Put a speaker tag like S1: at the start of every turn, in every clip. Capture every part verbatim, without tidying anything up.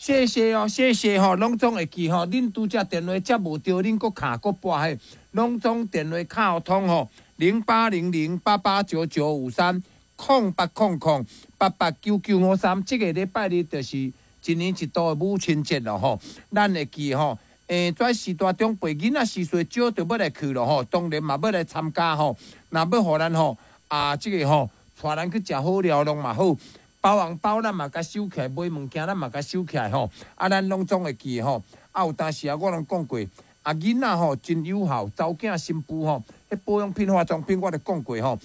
S1: 謝謝哦，謝謝吼，攏總會記吼。恁拄才電話接無著，恁閣敲閣撥嘿，攏總電話敲通吼，零八零零八八九九五三，空八空空八八九九五三。這個禮拜日就是一年一度的母親節咯吼，咱會記吼。欸，跩序大長輩囡仔時歲少就欲來去咯吼，當然嘛欲來參加吼。若欲予咱吼啊，這個吼，帶咱去食好料攏嘛好，包紅包咱嘛共收起來，買物件咱嘛共收起來吼。啊，咱攏總會記吼。啊，有當時啊，我攏講過，啊，囡仔吼真有效，查某囝新婦吼，彼保養品、化妝品我就講過吼。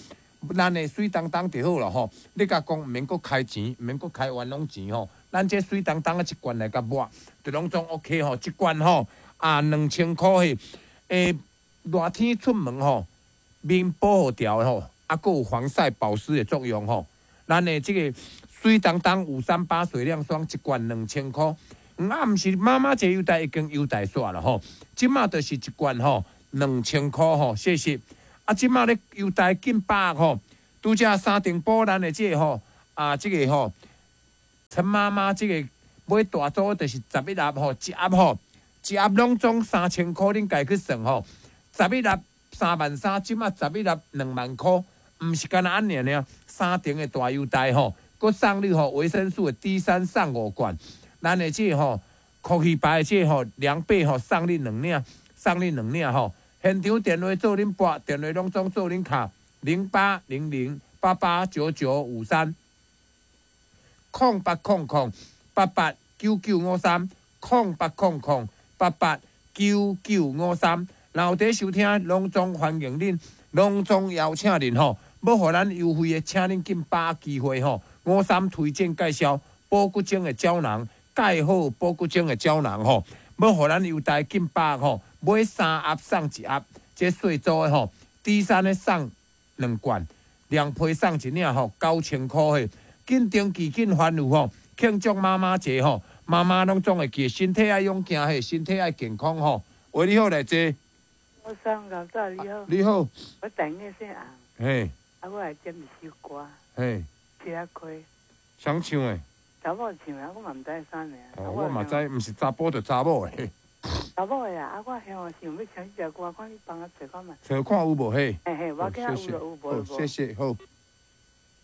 S1: 咱的媠當當就好了吼。你共講毋免閣開錢，毋免閣開冤枉錢吼。咱這媠當當的一罐來共抹，就攏總 OK 吼，一罐吼啊兩千箍彼，欸，熱天出門吼，面保護牢吼，啊，閣有防曬保濕的作用吼。咱的這個媠當當五三八水亮霜一罐兩千箍，啊，毋是媽媽節優待已經優待煞了吼，這馬就是一罐吼兩千箍吼，謝謝。啊，這馬咧優待緊百吼，拄才三重埔咱的這個吼，啊，這個吼，陳媽媽這個買大組就是十一盒吼，一盒吼，一盒攏總三千箍，恁家己去算吼，十一盒三萬三，這馬十一盒兩萬箍，毋是干焦按呢爾，三重的大優待吼，閣送你吼維生素的 D 三送五罐，咱的這個吼，酷氣牌的這個吼涼被吼送你兩領，送你兩領吼。現場電話做恁撥，電話攏總做恁敲，零八零零八八九九五三，空八空空八八九九五三，空八空空八八九九五三。若有佇收聽，攏總歡迎恁，攏總邀請恁吼，欲予咱優惠的，請恁緊把握機會吼。五三推薦介紹保骨精的膠囊，蓋好保骨精的膠囊吼，欲予咱優待緊把握吼。買三盒送一盒，這細組的吼，D 三的送兩罐，涼被送一領吼，九千箍的，緊登記緊歡樂吼，慶祝媽媽節吼，媽媽攏總會記，身體愛勇健嘿，身體愛健康吼。喂，你好，來坐。
S2: 我上老早你好。
S1: 你好。
S2: 我台語姓洪。
S1: 嘿。
S2: 啊，我來點一首歌。
S1: 嘿。
S2: 車仔開。
S1: 誰唱的？
S2: 查某唱的，我嘛毋知啥名。
S1: 哦，我嘛知，毋是查埔就查某的。
S2: 查某的啊，啊，我想想欲唱這隻歌，看你幫我揣看覓。
S1: 揣看有無嘿？
S2: 嘿嘿，我記有就有，無就無。
S1: 謝謝，好。